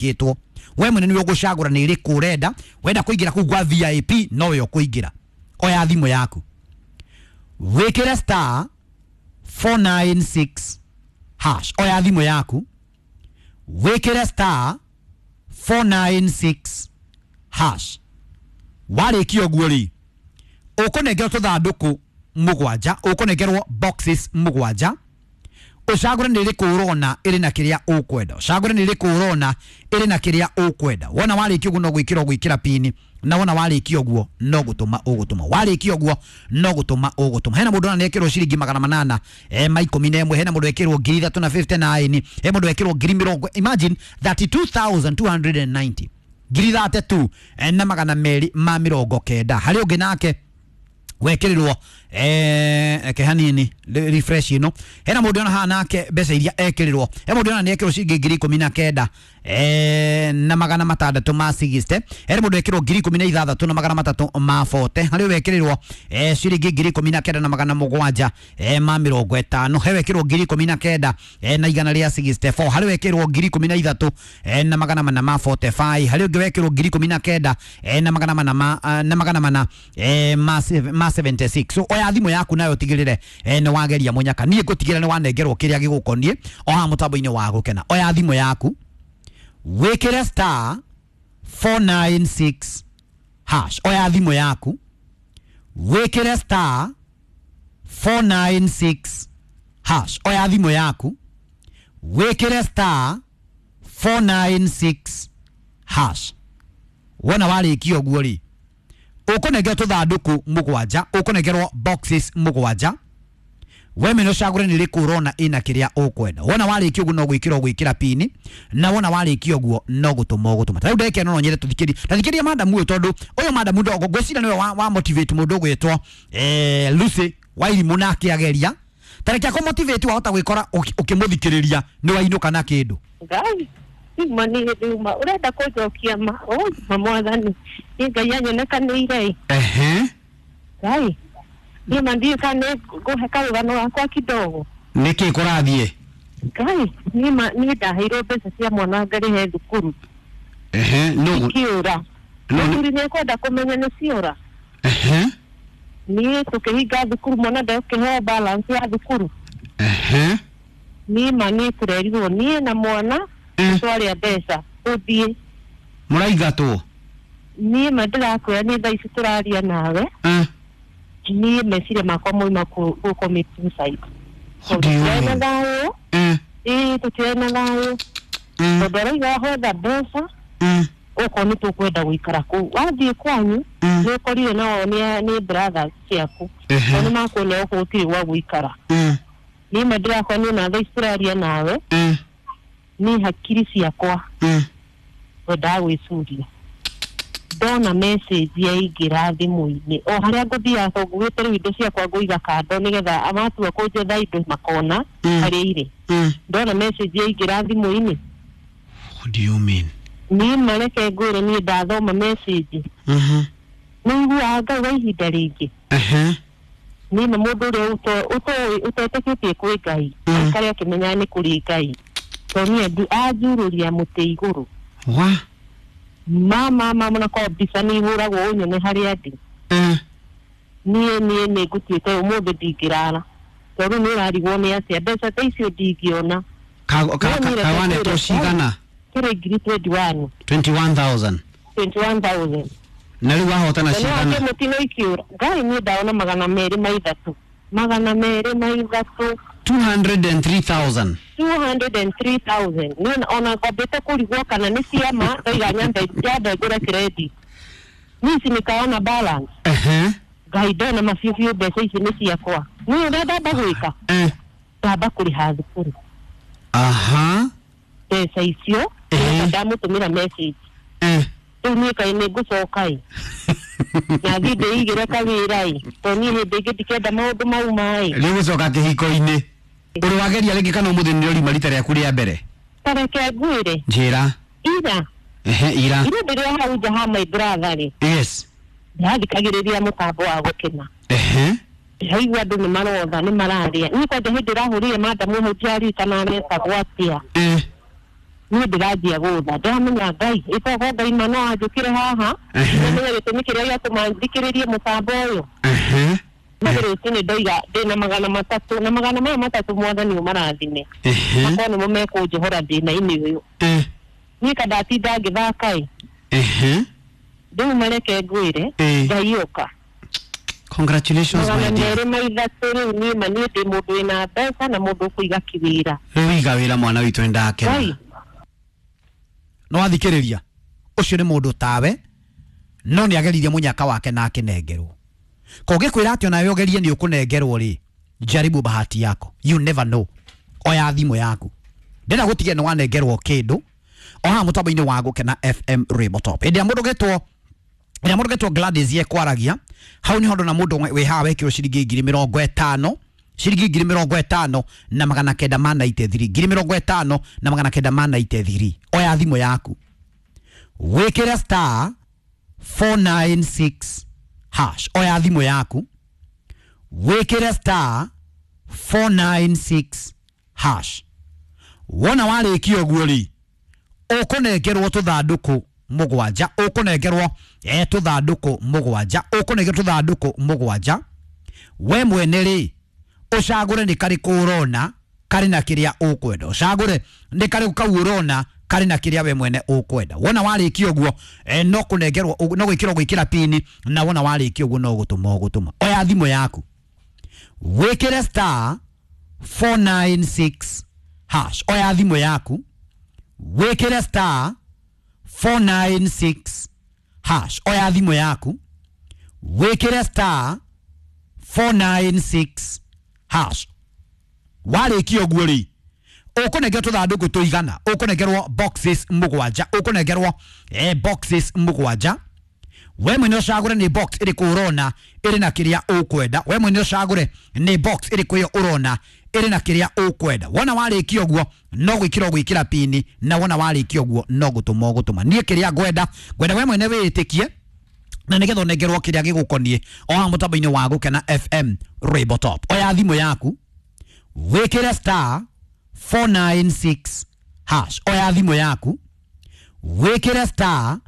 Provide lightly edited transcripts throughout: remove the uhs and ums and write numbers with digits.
Gĩtwo we mwene nĩwe ũgũcagũra nĩ ĩrĩkũ ũrenda. Wenda kũingĩra kũu gwa VIP nowe ũkũingĩra. Oya thimũ yaku, wĩkĩre star 496 hash. Oya thimũ yaku, wĩkĩre star 496 hash. Warĩkia ũguo rĩ, ũkũnengerwo tũthandũkũ mũgwanja, ũkũnengerwo boxes mũgwanja. Ũcagũre nĩ ĩrĩkũ ũrona ĩrĩ na kĩrĩa ũkwenda, ũcagũre nĩ ĩrĩkũ ũrona ĩrĩ na kĩrĩa ũkwenda. Wona warĩkia ũguo no gwĩkĩra ũgwĩkĩra pini, na wona warĩkia ũguo no gũtũma ũgũtũma, warĩkia ũguo no gũtũma ũgũtũma. Hena mũndũ ona nĩekĩrwo ciringi 811, hena mũndũ ekĩrwo 3059, he mũndũ ekĩrwo ngiri mĩrongo, imagine 32,290, 32,290. Harĩ ũngĩ nake wekĩrĩrwo eke hanini refresh ĩno. Hena mũndũ ona haha nake mbeca iria ekĩrĩrwo, he mũndũ ona nĩekĩrwo ciringi 19,660, hena mũndũ ekĩrwo 16,340, harĩ wekĩrĩrwo ciringi 19,750, he wekĩrwo 19,164, harĩ wekĩrwo 13,445, harĩ ũngĩ wekĩrwo 19,400 na 76. So oya thimũ yaku nayo tigĩrĩre nĩ wageria mũnyaka. Niĩ ngũtigĩrĩra nĩ wanengerwo kĩrĩa gĩgũkoniĩ o haha mũtambo-inĩ wa gũkena. Oya thimũ yaku, wĩkĩre star 496 hash. Oya thimũ yaku, wĩkĩre star 496 hash. Oya thimũ yaku, wĩkĩre star 496 hash. Wona warĩkia ũguo rĩ, ũkũnengerwo tũthandũkũ mũgwanja, ũkũnengerwo boxes mũgwanja. We mwene ũcagũre nĩ ĩrĩkũ ũrona ĩna kĩrĩa ũkwenda. Wona warĩkia ũguo no gwĩkĩra ũgwĩkĩra pini, na wona warĩkia ũguo no gũtũma ũgũtũma. Ta rĩu ndagĩka ĩno no nyende tũthikĩrie, tathikĩria madamu ũyũ, tondũ ũyũ madamu ndogo ngwĩciria nĩwe wa motivate mũndũ ũgwĩtwo Lucy Wairimũ, nake ageria tareke akũ motivate, wahota gwĩkora ũkĩmũthikĩrĩria nĩ wainũka na kĩndũ. Ngai uma nĩ nduma ũrenda kũnjokia ma ma mwathani nĩ Ngai anyonekanĩire. Ehe. Ngai niĩ ma ndiũĩ kana nĩ ngũhe karũgano gakwa kidogo. Nĩkĩ kũrathiĩ? Ngai niĩ ma niĩ ndaheirwo mbeca cia mwana ngarĩhe thukuru. Ehe, no ikiũra. No. Mũthuri nĩ ekwenda kũmenya nĩ ciora. Ehe. Niĩ tũkĩhinga thukuru mwana ndekũheo balance ya thukuru. Ehe. Niĩ ma niĩ tũrerirwo niĩ na mwana twarĩa mbeca ũthiĩ. Mũraingatwo? Niĩ ma ndĩrakwĩra niĩ thaa ici tũraria nawe, niĩ meciria makwa moima kũ commit suicide. What do you tũtirĩ na mean? thayũ. Ĩĩ, tũtirĩ na thayũ tondũ arauga hotha mbeca okorwo nĩ tũkwenda gũikara kũu wathiĩ kwanyu nĩ ũkorire nao nĩ brothers ciaku Ehe. nĩ makuonia gũkũ gũtirĩ gwa gũikara. Niĩ ma ndĩrakwa niĩ na thaa ici tũraria nawe niĩ hakiri ciakwa wendaga gwĩcuria ndona message yaingĩra thimũ-inĩ o harĩa ngũthiaga tondũ ngugĩte rĩu indo ciakwa ngũiga kando nĩgetha matua kũnjetha indo makona harĩa irĩ. Ndona message yaingĩra thimũ-inĩ. What do you mean? Niĩ mareke ngwĩre niĩ ndathoma message nĩ iguaga Ngai wa ihinda rĩngĩ. Ehe. Niĩ na mũndũ ũrĩa ũtetĩkĩtie kwĩ Ngai aikare akĩmenyaga nĩ kũrĩ Ngai tondũ niĩ anjurũria mũtĩ igũrũ. Wa? Mama mama na kwa mbica nĩ ihũragwo ũnyone harĩa ndĩ. Niĩ nĩ ngũtuĩte ũmũthĩ ndingĩrara tondũ nĩ ũrarigwo nĩ atĩa mbeca ta icio ndingĩona. Kawanetwo cigana? Kĩrĩ 21,000. 21,000. 21,000. Na rĩu wahotana Na nĩ cigana? wake mũtino ikiũra Ngai niĩ ndaona 203, 203. 203,000. 203,000. Niĩ ona ngwambĩte kũrigwo kana nĩ ciama ndaiga nyambe ngũre credit niĩ ici nĩkaona balance. Ehe. Ngai ndona mabiũ biũ mbeca ici nĩ ciakwa niĩ ũrĩa ndamba gwĩka ndamba kũrĩha thukuru. Aha. Mbeca icio ndamũtũmĩra message. Rĩu niĩ kaĩ nĩ ngũcoka ĩ na thiĩ ndĩigĩre kawĩra ĩ tondũ niĩ hĩndĩ ĩngĩ ndikenda maũndũ mau maĩ. Rĩu gũcoka kĩhiko-inĩ ũrĩ wageria rĩngĩ kana ũmũthĩ nĩ ũrima rita rĩaku rĩa mbere? Tareke ngwĩre. Njĩra. Ira. Ehe, ira. Ira ndĩrĩ hau nja ha my brother rĩ. Yes. Ndĩrathikagĩrĩria mũtambo wa gũkena. Ehe. Ndĩraigua andũ nĩ marotha nĩ mararĩa niĩ kwanja hĩndĩ ĩrahũrire madamu hau ndiaririkana aretagwo atĩa. Niĩ ndĩranjia gũtha ndĩramenya Ngai ĩtogo Ngai ma no anjũkĩre haha nĩmenya gĩtũmi kĩrĩa gĩatũma thikĩrĩrie mũtambo ũyũ. Nĩ rũcinĩ ndoiga ndĩna 300 na 300 mwathani ũmarathime makorwo nĩmo mekũnjohora thĩna-inĩ ũyũ. Niĩ kandatinda ngĩthaka ĩ rĩu mareke ngwĩre Ngai ũka. Congratulations my dear. 203 rĩu niĩ ma niĩ ndĩ mũndũ wĩna mbeca na mũndũ ũkũiga kĩwĩra. Rĩu iga wĩra mwana witũ nĩndakena. No athikĩrĩria ũcio nĩ mũndũ tawe no nĩ ageririe mũnyaka wake na akĩnengerwo. Kũngĩkwĩra atĩ onawe ũgerie nĩ ũkũnengerwo rĩ, jaribu bahati yako, you never know. Oya thimũ yaku, ndĩrenda gũtigia nĩ wanengerwo kĩndũ o haha mũtambo-inĩ wa Gũkena FM Rainbow Top. Hĩndĩ ĩrĩa mũndũ getwo Gladys yekwaragia hau nĩho ndona mũndũ wĩ haha wekĩrwo ciringi 50,000 ciringi 50,000 na 993 50,000 na 993. Oya thimũ yaku wĩkĩre star 496 hash. Oya thimũ yaku wĩkĩre star 496 hash. Wona warĩkia ũguo rĩ, ũkũnengerwo tũthandũkũ mũgwanja, ũkũnengerwo tũthandũkũ mũgwanja, ũkũnengerwo tũthandũkũ mũgwanja. We mwene rĩ, ũcagũre nĩ karĩkũ ũrona karĩ na kĩrĩa ũkwenda, ũcagũre nĩ karĩkũ kau ũrona karĩ na kĩrĩa we mwene ũkwenda. Wona warĩkia ũguo no kũnengerwo, no gwĩkĩrwo gwĩkĩra pini, na wona warĩkia ũguo no gũtũma ũgũtũma. Oya thimũ yaku wĩkĩre star 496 hash. Oya thimũ yaku wĩkĩre star 496 hash. Oya thimũ yaku wĩkĩre star 496 hash. Warĩkia ũguo rĩ, ũkũnengerwo tũthandũkũ tũigana, ũkũnengerwo boxes mũgwanja, ũkũnengerwo boxes mũgwanja. We mwene ũcagũre nĩ box ĩrĩkũ ũrona ĩrĩ na kĩrĩa ũkwenda. We mwene ũcagũre nĩ box ĩrĩkũ ĩyo ũrona ĩrĩ na kĩrĩa ũkwenda. Wona warĩkia ũguo no gwĩkĩra gwĩkĩra pini, na wona warĩkia ũguo no gũtũma ũgũtũma. Niĩ kĩrĩa ngwenda we mwene wĩĩtĩkie na nĩgetha ũnengerwo kĩrĩa gĩgũkoniĩ o haha mũtambo-inĩ wa Gũkena FM Rainbow Top. Oya thimũ yaku wĩkĩre star 496 hash. Oya thimũ yaku wĩkĩre star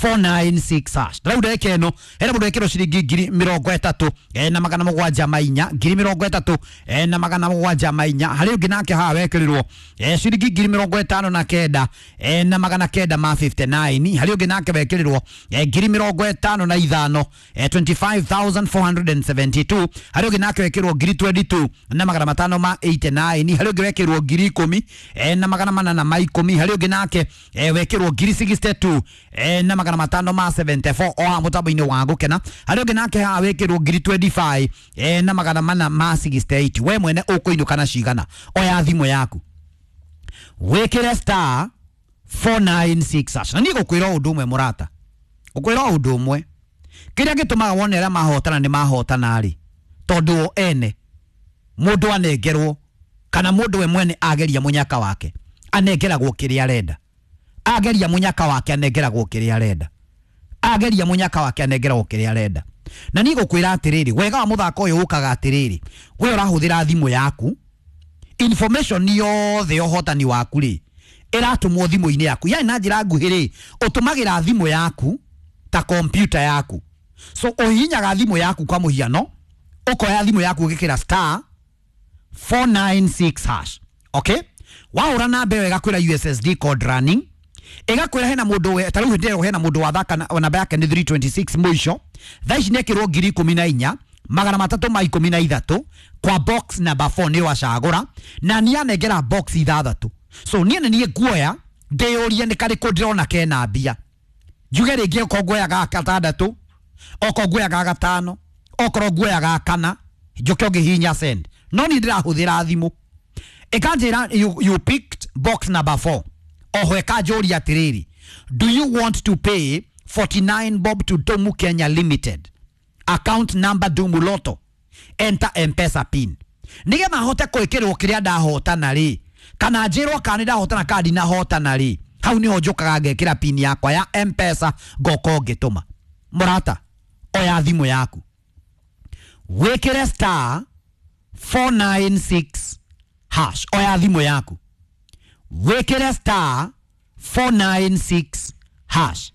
496 hash. Rĩu ndagĩka ĩno hena mũndũ wekĩrwo ciringi 30,000 na 704, 30,000 na 704. Harĩ ũngĩ nake haha wekĩrirwo ciringi 59,000 na 959. Harĩ ũngĩ nake wekĩrirwo 55,000 25,472. Harĩ ũngĩ nake wekĩrirwo 22,000 na 589. Harĩ ũngĩ wekĩrirwo 10,000 na 810. Harĩ ũngĩ nake wekĩrwo 62,000 na 574 o haha mũtambo-inĩ wa Gũkena. Harĩ ũngĩ nake haha wĩkĩrwo 25,000 na 468. We mwene ũkũinũka na cigana? Oya thimũ yaku wĩkĩre star 496 hash. Na niĩ ngũkwĩra ũndũ ũmwe mũrata, ngũkwĩra ũndũ ũmwe, kĩrĩa gĩtũmaga wone arĩa mahotana nĩ mahotana rĩ, tondũ o ene mũndũ anengerwo kana mũndũ we mwene ageria mũnyaka wake anengeragwo kĩrĩa arenda. Ageria mũnyaka wake anengeragwo kĩrĩa arenda. Ageria mũnyaka wake anengeragwo kĩrĩa arenda. Na niĩ ngũkwĩra atĩrĩrĩ, wega wa mũthako ũyũ ũkaga atĩrĩrĩ, we ũrahũthĩra thimũ yaku, information yothe ya ũhotani waku rĩ ĩratũmwo thimũ-inĩ yaku. Yani na njĩra nguhĩ rĩ, ũtũmagĩra thimũ yaku ta kompyuta yaku. So ũhihinyaga thimũ yaku kwa mũhiano, ũkoya thimũ yaku ũgĩkĩra star 496 hash. Okay? Wahũra namba ĩyo ĩgakwĩra USSD code running, ĩgakwĩra hena mũndũ ta rĩu hĩndĩ ĩyo hena mũndũ wathaka namba yake nĩ 326 mũico. Thaa ici nĩekĩrwo 14,313 kwa box number 4 nĩ wacagũra, na niĩ anengera box ithathatũ. So niĩ nĩ niĩ nguoya ndĩyũrie nĩ karĩkũ ndĩrona kena mbia, njuge rĩngĩ okorwo nguoya ga gatandatũ, okorwo nguoya ga gatano, okorwo nguoya ga kana, njoke ũngĩhihinya send. No niĩ ndĩrahũthĩra thimũ ĩkanjĩra you picked box number 4. Oho ĩkanjũria atĩrĩrĩ, do you want to pay 49 bob to Domu Kenya Limited, account number Domu Lotto, enter M-Pesa pin? Nĩgetha hote gwĩkĩrwo kĩrĩa ndahotana rĩ, kana njĩrwo kana nĩndahotana kana ndinahotana rĩ, hau nĩho njũkaga ngekĩra pin yakwa ya M-Pesa ngoka ngĩtũma. Mũrata, oya thimũ yaku wĩkĩre star 496 hash. Oya thimũ yaku wĩkĩre star 496 hash.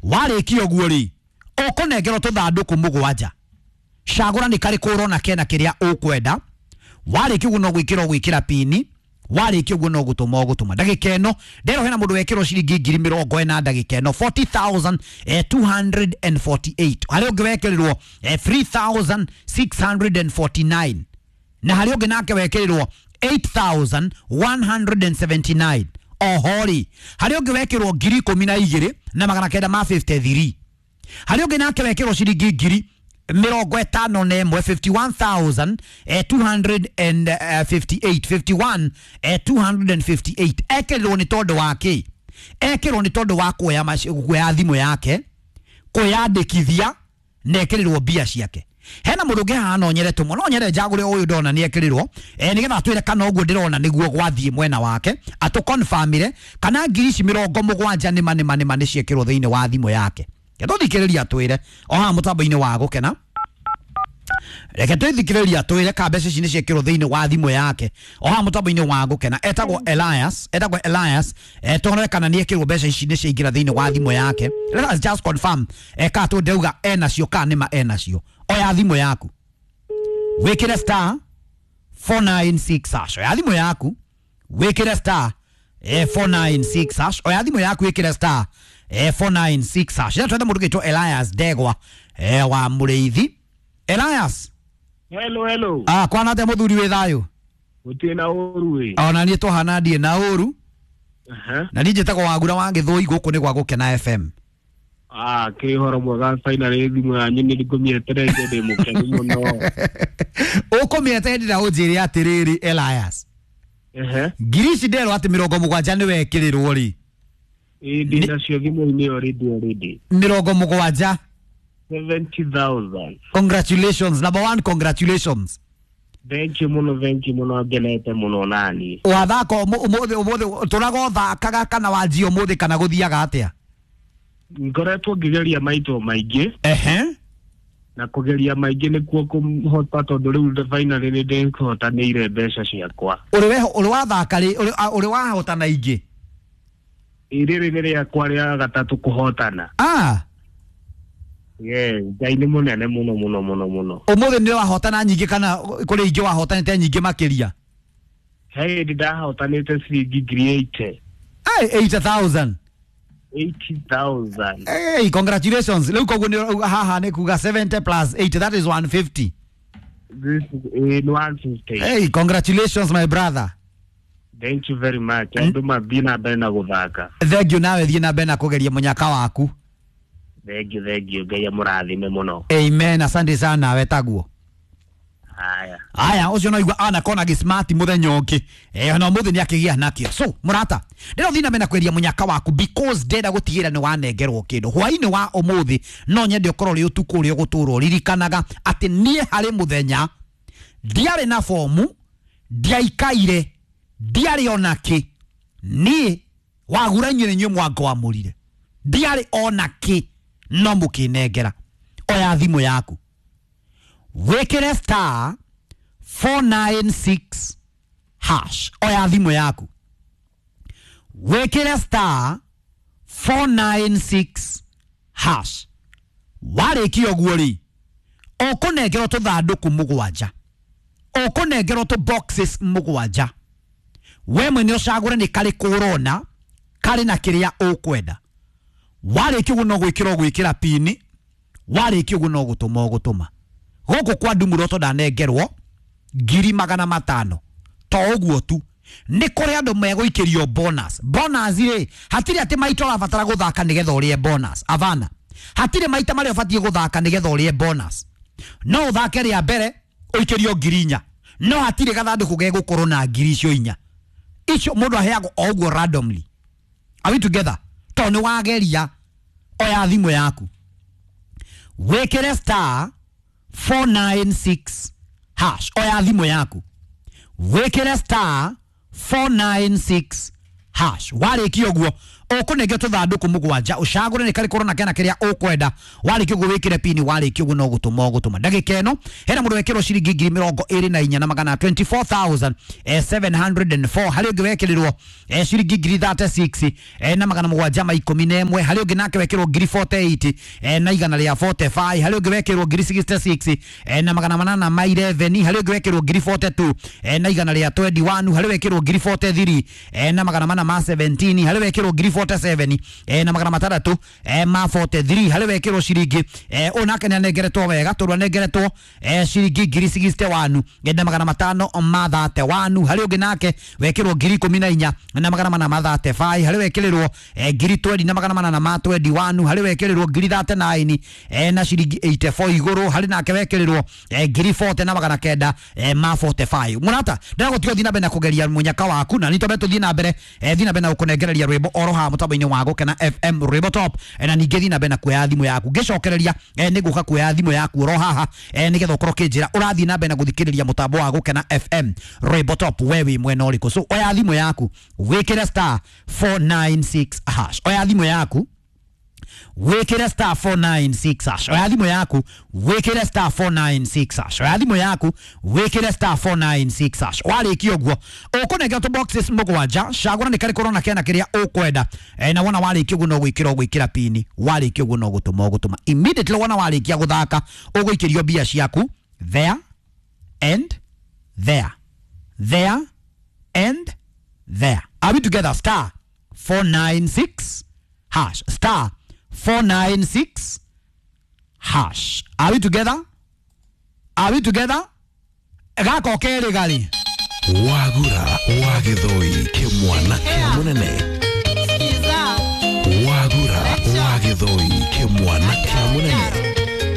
Warĩkia ũguo rĩ, ũkũnengerwo tũthandũkũ mũgwanja. Cagũra nĩ karĩkũ ũrona kena kĩrĩa ũkwenda. Warĩkia ũguo no gwĩkĩra ũgwĩkĩra pini. Warĩkia ũguo no gũtũma ũgũtũma. Ndagĩka ĩno ndero hena mũndũ wekĩrwo ciringi 40,000 ndagĩka ĩno 40,248. Harĩ ũngĩ wekĩrirwo 3,649 na harĩ ũngĩ nake wekĩrirwo 8,179. Oho rĩ, harĩ ũngĩ wekĩrwo 12,953. Harĩ ũngĩ nake wekĩrwo ciringi 51,000 51,258 51,258. Ekĩrirwo nĩ tondũ wa kĩ? Ekĩrirwo nĩ tondũ wa kuoya thimũ yake, kwĩyandĩkithia na ekĩrirwo mbia ciake. Hena mũndũ ũngĩ haha no nyere tũmwe, no nyere njagũre ũyũ ndona nĩ ekĩrirwo, nĩgetha atwĩre kana ũguo ndĩrona nĩguo gwathiĩ mwena wake, atũconfirmire kana ngiri ici 70 nĩma nĩma nĩma nĩ ciekĩrwo thĩinĩ wa thimũ yake. Tũthikĩrĩria atwĩre o haha mũtambo-inĩ wa Gũkena. Reke twĩthikĩrĩria atwĩre ka mbeca ici nĩ ciekĩrwo thĩinĩ wa thimũ yake o haha mũtambo-inĩ wa Gũkena. Etagwo Elias, etagwo Elias. Tuone kana nĩ ekĩrwo mbeca ici nĩ ciaingĩra thĩinĩ wa thimũ yake. Let us just confirm ka tũ ndauga enacio ka nĩma enacio. Oya thimũ yaku wĩkĩre star 496 hash. Oya thimũ yaku wĩkĩre star 496 hash. Oya thimũ yaku wĩkĩre star 496 hash. Twethe mũndũ gĩtwo Elias Ndegwa wa Mũrĩithi. Elias. Hello, hello. Kwana atĩa mũthuri wĩ thayũ? Gũtirĩ na ũru ĩ. Ona niĩ tũhana ndiĩ na ũru. Na niĩ njĩtagwo Wagura wa Gĩthũi, gũkũ nĩ gwa Gũkena FM. Kĩrĩ ũhoro mwega finally thimũ yanyu nĩ ngũmĩetereire ndĩ mũkenu mũno. Ũkũmĩeterera ũnjĩre atĩrĩrĩ Elias. Ngiri ici nderwo atĩ 70 nĩ wekĩrĩrwo rĩ. Ĩ ndĩ nacio thimũ-inĩ already already. 70. 70,000. Congratulations. Number one, congratulations. Thank you muno, thank you muno, ngenete muno nani. Wathaka ũmũthĩ ũmũthĩ tũraga ũthakaga kana wanjia ũmũthĩ kana gũthiaga atĩa? Ngoretwo ngĩgeria maito maingĩ. Na kũgeria maingĩ nĩkuo kũhota tondũ rĩu finally nĩ ndĩhotanĩire mbeca ciakwa. Ũrĩ wathaka rĩ, ũrĩ wahotana ingĩ? Rĩrĩ nĩ rĩakwa rĩa gatatũ kũhotana. Yeah, Ngai nĩ mũnene mũno mũno mũno mũno. Ũmũthĩ nĩ wahotana nyingĩ kana kũrĩ ingĩ wahotanĩte nyingĩ makĩria? He hĩndĩ ndahotanĩte ciringi 80,000. Ai, 80,000. 80,000. Hey, congratulations. Rĩu koguo nĩ haha nĩ kuga 70 plus 80, that is 150. This is 150. Hey, congratulations my brother. Thank you very much. Andũ mathiĩ na mbere na gũthaka. Thank you, nawe thiĩ na mbere na kũgeria mũnyaka waku. Thank you, thank you. Ngai amũrathime mũno. Amen. Asante sana wetaguo. Haya. Haya, ũcio no igua anakona gĩ smart mũthenya ũngĩ. Na ũmũthĩ nĩ akĩgĩa nakĩo. So, mũrata, ndĩra ũthiĩ na mbere na kweria mũnyaka waku because ndĩrenda gũtigĩrĩra nĩ wanengerwo kĩndũ. Hwaĩ-inĩ wa ũmũthĩ no nyende ũkorwo ũrĩ ũtukũ ũrĩa ũgũtũũra ũririkanaga atĩ niĩ harĩ mũthenya ndiarĩ na fomu, ndiaikaire, ndiarĩ ona kĩ. Niĩ Wagura inyuĩ nĩ inyuĩ mwangwamũrire. Ndiarĩ ona kĩ no mũkĩnengera. Oya thimũ yaku wĩkĩre star 496 hash. Oya thimũ yaku wĩkĩre star 496 hash. Warĩkia ũguo rĩ, ũkũnengerwo tũthandũkũ mũgwanja, ũkũnengerwo tũ boxes mũgwanja. We mwene ũcagũre nĩ karĩkũ ũrona karĩ na kĩrĩa ũkwenda. Warĩkia ũguo no gwĩkĩra ũgwĩkĩra pini, warĩkia ũguo no gũtũma ũgũtũma. Gũkũ kwa Ndumuroto ndanengerwo 500,000. To ũguo tu, nĩ kũrĩ andũ megũikĩrio bonus. Bonus rĩ, hatirĩ atĩ maita ũrabatara gũthaka nĩgetha ũrĩe bonus. Avana. Hatirĩ maita marĩa ũbatiĩ gũthaka nĩgetha ũrĩe bonus. No ũthake rĩa mbere ũikĩrio 4,000. No hatirĩ gathandũkũ gegũkorwo na ngiri icio 4. Icio mũndũ aheagwo o ũguo randomly. Are we together? To nĩ wageria, oya thimũ yaku wĩkĩre star 496 hash. Oya thimũ yaku wĩkĩre star 496 hash. Warĩkia ũguo Ũkũnengera tũthandũkũ mũgwanja, ũcagũre nĩ karĩkũ ũrona kena kĩrĩa ũkwenda. Warĩkia ũguo wĩkĩre pini, warĩkia ũguo no gũtũma ũgũtũma. Ndagĩka ĩno hena mũndũ wekĩrwo ciringi 24,000 na magana 24,704. Harĩ ũngĩ wekĩrĩrwo ciringi 36,000 na magana mũgwanja ma ikũmi na ĩmwe. Harĩ ũngĩ nake wekĩrwo 48,000 na igana rĩa 45. Harĩ ũngĩ wekĩrwo 66,000 na magana manana ma 11. Harĩ ũngĩ wekĩrwo 42,000 na igana rĩa 21. Harĩ wekĩrwo 43,000 na magana mana ma 17. Harĩ wekĩrwo 47,000 na magana matandatũ ma 43. Harĩ wekĩrwo ciringi ũyũ nake nĩanengeretwo wega tondũ anengeretwo ciringi 61,000 na magana matano ma 31. Harĩ ũngĩ nake wekĩrwo 14,000 na magana mana ma 35. Harĩ wekĩrĩrwo 20,000 na magana mana ma 21. Harĩ wekĩrĩrwo 39,000 na ciringi 84 igũrũ. Harĩ nake wekĩrĩrwo 40,000 na magana kenda ma 45. Mũrata, ndĩragũtiga ũthiĩ na mbere na kũgeria mũnyaka waku, na nĩ twambe tũthiĩ na mbere thiĩ na mbere na gũkũnengereria rwĩmbo oro haha mũtambo-inĩ wa Gũkena FM rwĩmbo top, na ningĩ thiĩ na mbere na kuoya thimũ yaku. Ngĩcokereria nĩ ngũka kuoya thimũ yaku oro haha nĩgetha ũkorwo ũkĩnjĩra ũrathiĩ na mbere na gũthikĩrĩria mũtambo wa Gũkena FM rwĩmbo top we wĩ mwena ũrĩkũ. So oya thimũ yaku wĩkĩre star 496 hash. Oya thimũ yaku wĩkĩre star 496 hash. Oya thimũ yaku wĩkĩre star 496 hash. Oya thimũ yaku wĩkĩre star 496 hash. Warĩkia ũguo ũkũnengera tũ boxes mũgwanja, cagũra nĩ karĩkũ ũrona kena kĩrĩa ũkwenda, na wona warĩkia ũguo no gwĩkĩra ũgwĩkĩra pini, warĩkia ũguo no gũtũma ũgũtũma. Immediately wona warĩkia gũthaka ũgũikĩrio mbia ciaku there and there, there and there. Are we together? Star 496 hash. Star 496 hash. Are we together? Are we together? Gako kerĩ gari Wagura wa Gĩthũi kĩmwana kĩa mũnene. Wagura wa Gĩthũi kĩmwana kĩa mũnene.